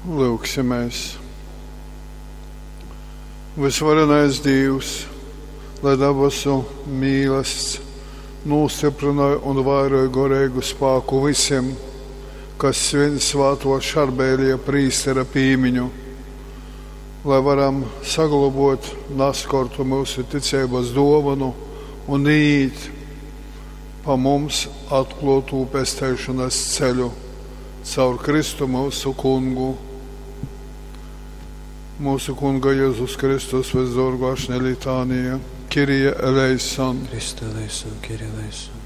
Lūgsimies! Vysvarenais Dīvs, lai dabasu mīlasts nūstyprynoj un vairoj goreigu spāku vysim, kas svin svātuo Šarbēlija prīstera pīmiņu, lai varam saglobuot naskortu myusu ticeibys duovonu un īt pa mums atkluotū pesteišonys ceļu caur Kristu myusu Kungu. Mūsu Kunga Jēzus Kristus vysduorguo ašņa litānija, Kyrie eleison, Christe eleison, Kyrie eleison.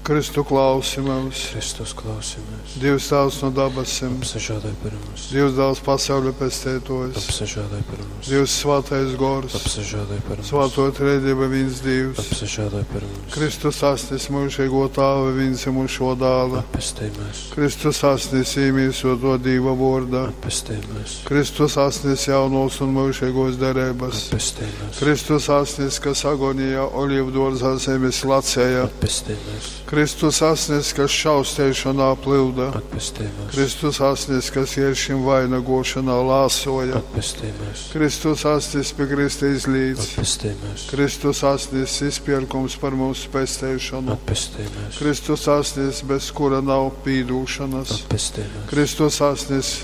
Kristu klausi myus, Kristus klausi mūs. Dievs Tāvs no dabasim, Apsažāloj par mums. Dievs Dāls pasauļa pesteitojs, Apsažāloj par mums. Dievs Svātais Gors, Apsažāloj par mums. Svāto Trejdieva vīns Dievs, Apsažāloj par mums. Kristus asnis mūžīgo Tāva vienzimušo dāla, Atpestej mūs. Kristus asnis īmīsoto Dīva vorda, Atpestej mūs. Kristus asnis jaunos un mūžīgos derības, Atpestej mūs. Kristus asnis, kas agonijā olīvduorzā zemes lacēja, Atpestej mūs. Kristus asnis, kas šausteišanā plilda, Atpestej mūs. Kristus asnis, kas ieršim vainagošanā lāsoja, Atpestej mūs. Kristus asnis pie Krista izlīdz, Atpestej mūs. Kristus asnis izpirkums par mūsu pesteišanu, Atpestej mūs. Kristus asnis, bez kura nav pīdūšanas, Atpestej mūs. Kristus asnis,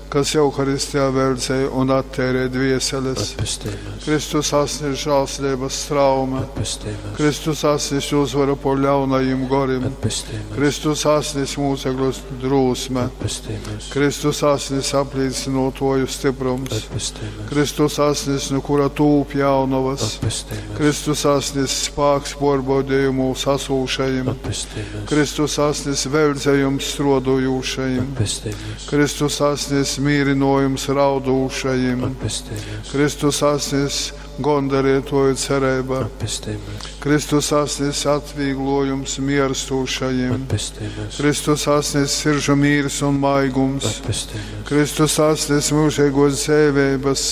kas Euharistijā veldzēja un attērē dvieseles, Atpestej mūs. Kristus asnis žēlsirdības straume, Atpestej mūs. Kristus asnis uzvara pār ļaunajiem gorim, Atpestej mūs. Kristus asnis mūcekļus drūsme, Atpestej mūs. Kristus asnis aplīcinotoju stiprums, Atpestej mūs. Kristus asnis, no kura tūp jaunavas, Atpestej mūs. Kristus asnis spāks porbaudījumūs asūšajiem, Atpestej mūs. Kristus asnis veldzējums strodojušajiem, Atpestej mūs. Kristus asnis mīrinojums raudūšajiem, Atpestej mūs. Kristus asnis gondarētoju cerība, Atpestej mūs. Kristus asnis atvieglojums mierstūšajiem, Atpestej mūs. Kristus asnis siržu mīrs un maigums, Atpestej mūs. Kristus asnis mūžīgos dzēvības,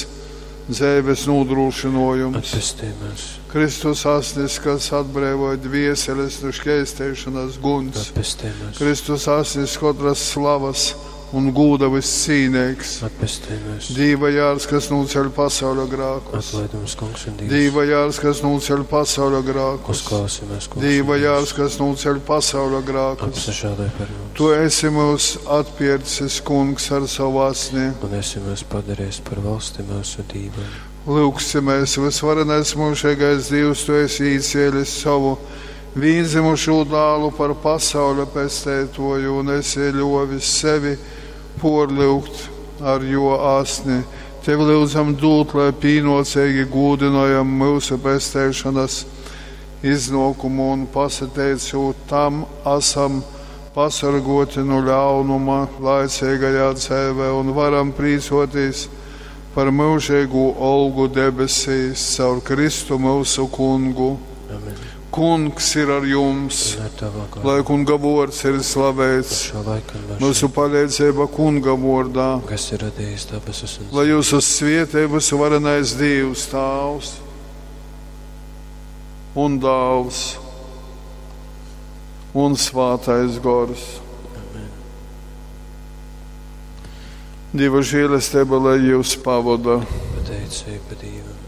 dzēves nodrošinojums, Atpestej mūs. Kristus asnis, kas atbrīvoja dvieseles no šķēstēšanas guns, Atpestej mūs. Kristus asnis katras slavas un gūda viscīnīgs, Atpestej mūs. Dīva jārs, kas nūceļ pasauļa grākus, Atlaid mums, kungs un Dievs. Dīva jārs, kas nūceļ pasauļa grākus, Uzklausi mūs, kungs. un Dīva Dievs. jārs, kas nūceļ pasauļa grākus. Apsažāloj par mums. Tu esi mūs atpircis, kungs, ar savu asni. Un esi mūs padarījis par valsti mūsu Dīvam. Lūgsimies, visvarenais mūžīgais Dievs, tu esi īcēlis savu vīnzimušo dālu par pasauļa pestētoju un esi ļovis sevi porliugt ar jo asni. Tev lūdzam dūt, lai pīnocīgi gūdinojam mūsu pestēšanas iznākumu un pasateicot tam esam pasargoti no ļaunuma laicīgajā dzīvē un varam prīcoties par mūžīgu olgu debesīs caur Kristu mūsu kungu. Amen. Kungs ir ar jums, Un ar tavu garu. lai kunga vārds ir slavēts, Šo laiku un mūsu mūžu, palīdzība kunga vārdā, kas ir radījis debesis un lai jūsu svietības varenais Dievs Tāvs un Dāls un Svātais Gors. Amen. Dieva žēlastība, lai jūs pavada. Pateicība Dievam.